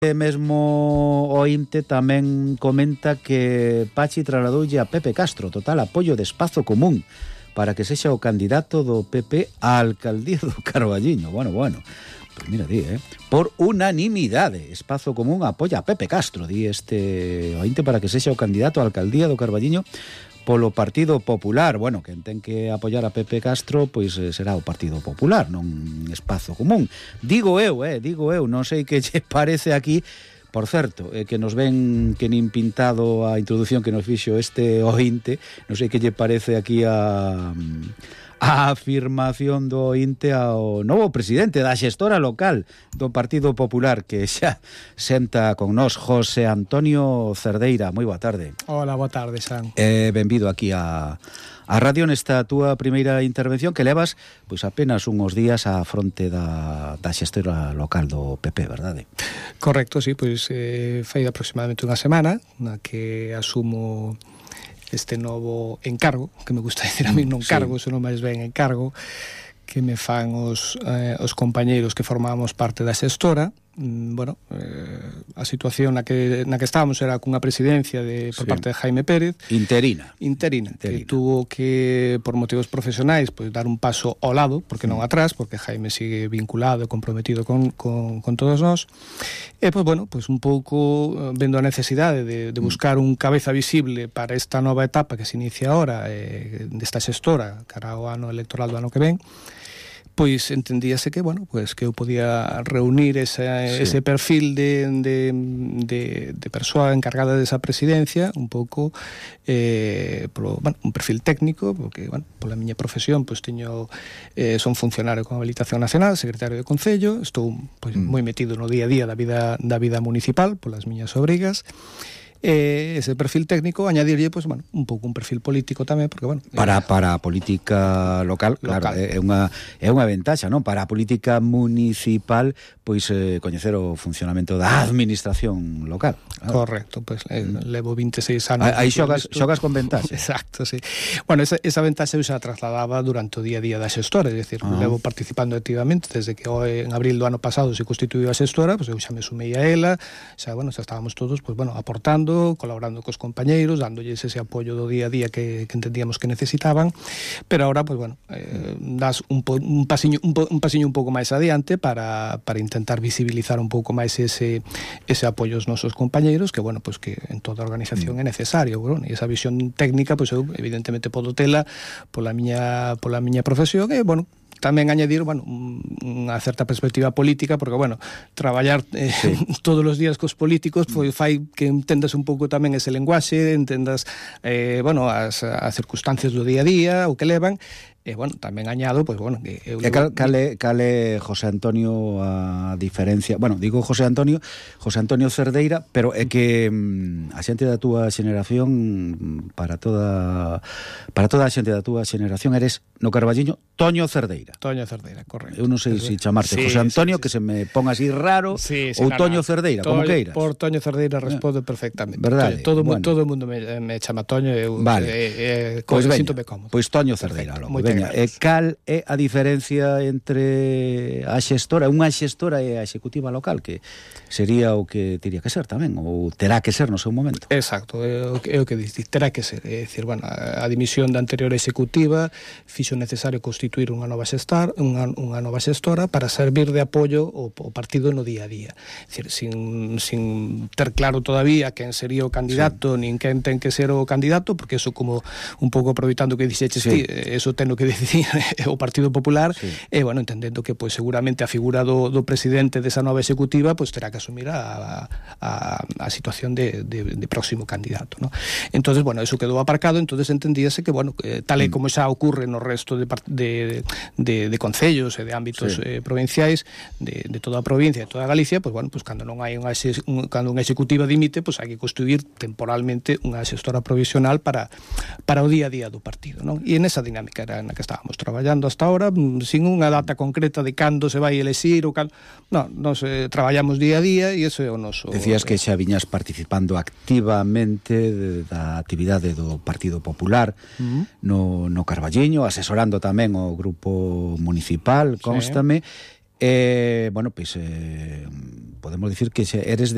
Mesmo o INTE tamén comenta que Pachi trasladoulle a Pepe Castro total apoio de Espazo Común para que sexa o candidato do PP á alcaldía do Carballiño. Bueno, pues mira, por unanimidade, Espazo Común apoia a Pepe Castro, di este o INTE, para que sexa o candidato á alcaldía do Carballiño polo Partido Popular. Bueno, quen ten que apoiar a Pepe Castro, pois será o Partido Popular, non Espazo Común. Digo eu, non sei que lle parece aquí. Por certo, que nos ven que nin pintado a introdución que nos fixo este ointe, non sei que lle parece aquí a afirmación do INTE ao novo presidente da xestora local do Partido Popular, que xa senta con nós, José Antonio Cerdeira. Moi boa tarde. Hola, boa tarde, San. Benvido aquí a radio nesta túa primeira intervención, que levas pois apenas uns días á fronte da xestora local do PP, verdade? Correcto, sí, pois fai aproximadamente unha semana na que asumo este novo encargo, que me gusta decir a mí non cargo, senón máis ben encargo, que me fan os compañeiros que formábamos parte da xestora. A situación na que estábamos era cunha presidencia por parte de Jaime Pérez interina, que tuvo que, por motivos profesionais, pues, dar un paso ao lado, porque non atrás, porque Jaime sigue vinculado e comprometido con todos nós. E, pues un pouco vendo a necesidade de buscar un cabeza visible para esta nova etapa que se inicia ahora desta xestora cara ao ano electoral do ano que ven, pois entendíase que, que eu podía reunir ese perfil de persoa encargada desa presidencia, un pouco un perfil técnico, porque, pola miña profesión, pois son funcionario con habilitación nacional, secretario de Concello, estou moi metido no día a día da vida municipal, polas miñas obrigas. Ese perfil técnico, añadirlle un pouco un perfil político tamén, porque para a política local, claro, é unha ventaxa, non? Para a política municipal, pois coñecer o funcionamento da administración local, claro. Correcto, pois levo 26 anos. Aí xogas con ventaxa. Exacto, sí. Bueno, esa ventaxa eu xa trasladaba durante o día a día da xestora, é dicir, levo participando activamente desde que en abril do ano pasado se constituíu a xestora, pois eu xa me sumei a ela, xa estábamos todos aportando, colaborando cos compañeiros, dándolles ese apoio do día a día que entendíamos que necesitaban, pero ahora das un pasiño un pouco máis adiante para intentar visibilizar un pouco máis ese apoio aos nosos compañeiros, que que en toda a organización é necesario, e esa visión técnica, eu evidentemente podo tela pola miña profesión, e tamén añadir, unha certa perspectiva política, porque, traballar todos os días cos políticos fai que entendas un pouco tamén ese lenguaxe, entendas, as circunstancias do día a día, o que levan, e, tamén añado, que... Cale, José Antonio, a diferencia... Digo José Antonio Cerdeira, pero é que a xente da túa xeneración, para toda a xente da túa xeneración, eres, no Carballiño, Toño Cerdeira. Toño Cerdeira, correcto. Eu non sei se chamarte José Antonio, que se me ponga así raro, ou Toño Cerdeira, como queiras. Por Toño Cerdeira responde perfectamente. Verdade? Todo o mundo me chama Toño, eu sinto-me cómodo. Pois Toño Cerdeira, logo. Veña, cal é a diferencia entre a xestora, unha xestora e a executiva local, que sería o que teria que ser tamén, ou terá que ser no seu momento? Exacto, é o que dice, terá que ser. É dicir, a dimisión da anterior executiva fixo necesario constituir unha nova xestora para servir de apoio ao partido no día a día. É dicir, sin ter claro todavía quen sería o candidato, nin quen ten que ser o candidato, porque eso, como un pouco aproveitando que dixeches ti, eso ten que decidir o Partido Popular, e, entendendo que seguramente a figura do presidente desa nova executiva terá que asumir a situación de próximo candidato, ¿no? Entonces, eso quedou aparcado. Entonces entendíase que, tal e como xa ocurre no resto de concellos e de ámbitos provinciais de toda a provincia, de toda Galicia, cando non hai cando unha executiva dimite, hai que constituir temporalmente unha xestora provisional para o día a día do partido, non? E nesa dinámica era na que estábamos traballando hasta ahora, sin unha data concreta de cando se vai elexir ou nos traballamos día a día, e iso é o noso... Decías que xa viñas participando activamente da actividade do Partido Popular no Carballiño, asesorando tamén o grupo municipal, constame, podemos dicir que eres